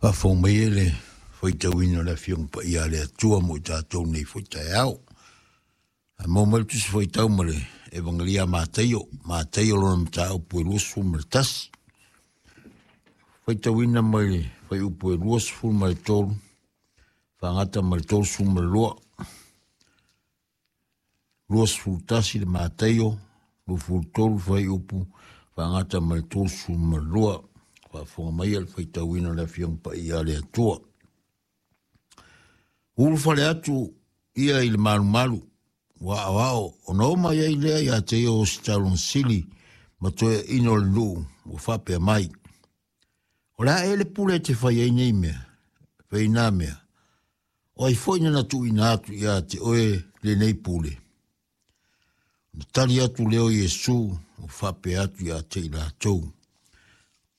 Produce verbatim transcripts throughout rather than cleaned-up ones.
Faafofoga mai e le faitauina o le Afioga Paia a le Atua mo i tatou nei foi taeao. Ae maua mai le Tusi Faitau ma le Evagelia a Mataio, Mataio lona mataupu e luasefulu ma le tasi. Faitauina mai le fuaiupu e luasefulu ma le tolu, faagata ma le tolusefulu ma le lua. Luasefulu tasi le Mataio, luasefulu tolu fuaiupu, faagata ma le tolusefulu ma le lua. Faafofoga mai le faitauina o le Afioga Paia a le Atua. Ulufale atu ia i le malumalu, ua aoao, ona oo mai ai lea ia te ia o ositaulaga sili ma toeaiina o le nuu ua faapea mai. O le a ea le pule e te fai ai nei mea, fai nā mea, o ai foi na tuuina atu ia te oe lenei pule. Ona tali atu lea o Iesu ua faapea atu ia te i latou.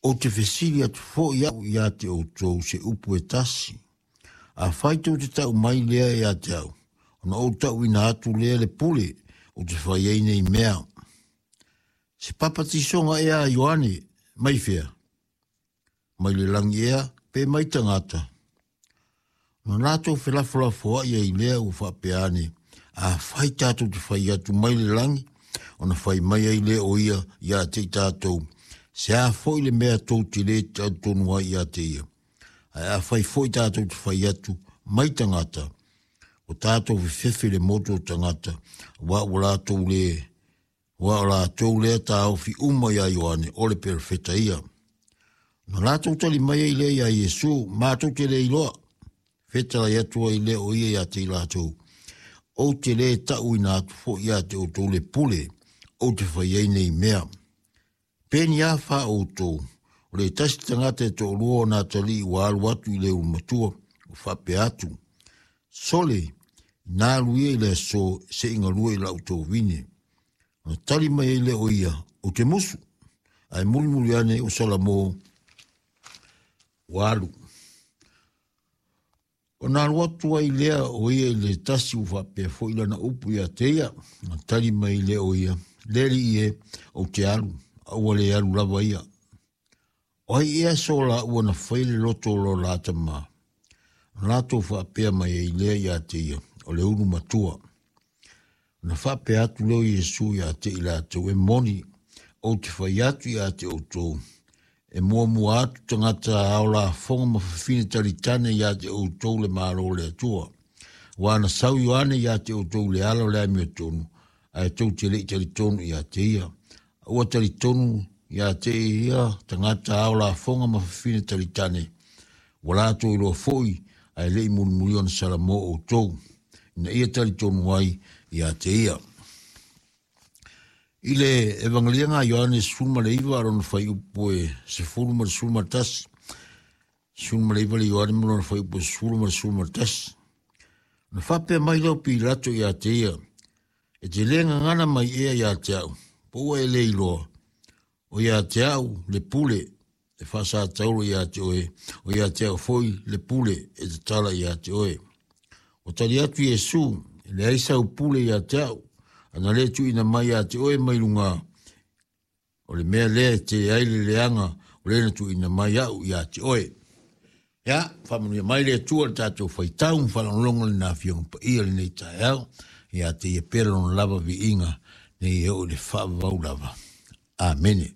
Ou te fesili atu foi au ia te outou se upu e tasi. Afai tou te tau mai lea ia te au, ona ou tauina atu lea le pule ou te fai ai nei mea. Se papatisoga ea a Ioane mai fea? Mai le lagi ea pe mai tagata? Ona latou felafolafoai ai lea ua faapea ane, afai tatou te fai atu mai le lagi, ona fai mai ai lea o ia ia te i tatou, se a foi le mea tou te le talitonu ai ia te ia. Ae afai foi tatou te fai atu mai tagata, ua tatou fefefe i le motu o tagata, aua ua latou le, ua o latou lea taofi uma ia Ioane o le perofeta ia. Ona latou tali mai ai lea ia Iesu, matou te le iloa. Fetalai atu ai lea o ia ia te i latou, ou te le tauina atu foi ia te outou le pule, ou te fai ai nei mea. Pe ni a fa outou, o le tasi tagata e toalua o na atalii ua alu atu i le ulumatua, ua faapea atu, sole, ina alu ia i le aso se i galue i lau tovine. Ona tali mai ai lea o ia, ou te musu, ae mulimuli ane o Salamo ua alu. Ona alu atu ai lea o ia i le tasi ua faapea foi lana upu ia te ia, ona tali mai lea o ia, le alii e, ou te alu, a ua le alu lava ia. O ai ea so laua na fai le loto o lo la tama? Ona latou faapea mai ai lea ia te ia, o le ulu matua. Ona faapea atu lea o Iesu ia te i latou, e moni, ou te fai atu ia te outou, e muamua atu tagata ao lafoga ma fafine talitane ia te outou le Malo o le Atua. Ua na sau Ioane ia te outou le ala o le amiotonu, ae tou te le i talitonu ia te ia. Ua talitonu ia te ia tagata ao lafoga ma fafine talitane, ua latou iloa foi ae le i mulimuli ona Salamo outou, ina ia talitonu ai ia te ia. I le Evangeliaga a Ioane sefulu ma le iva lona fuaiupu e sefulu ma le sefulu ma le tasi, sefulu ma le iva le Ioane ma lona fuaiupu e sefulu ma le sefulu ma le tasi. Ona faapea mai lea o Pilato ia te ia, e te le gagana mai ea ia te au, po ua e le iloa, o ia te au le pule e faasatauro ia te oe, o ia te au foi le pule e tatala ia te oe. O tali atu Iesu, e leai sau pule ia te au, ana le tuuina mai ia te oe mai luga, o le mea lea e tele ai le leaga o le na tuuina mai au ia te oe. Ia, faamanuia mai le Atua le tatou faitau ma faalogologo lena Afioga Paia lenei taeao, ia te ia pea lona lava viiga nei e oo i le faavavau lava. Amene.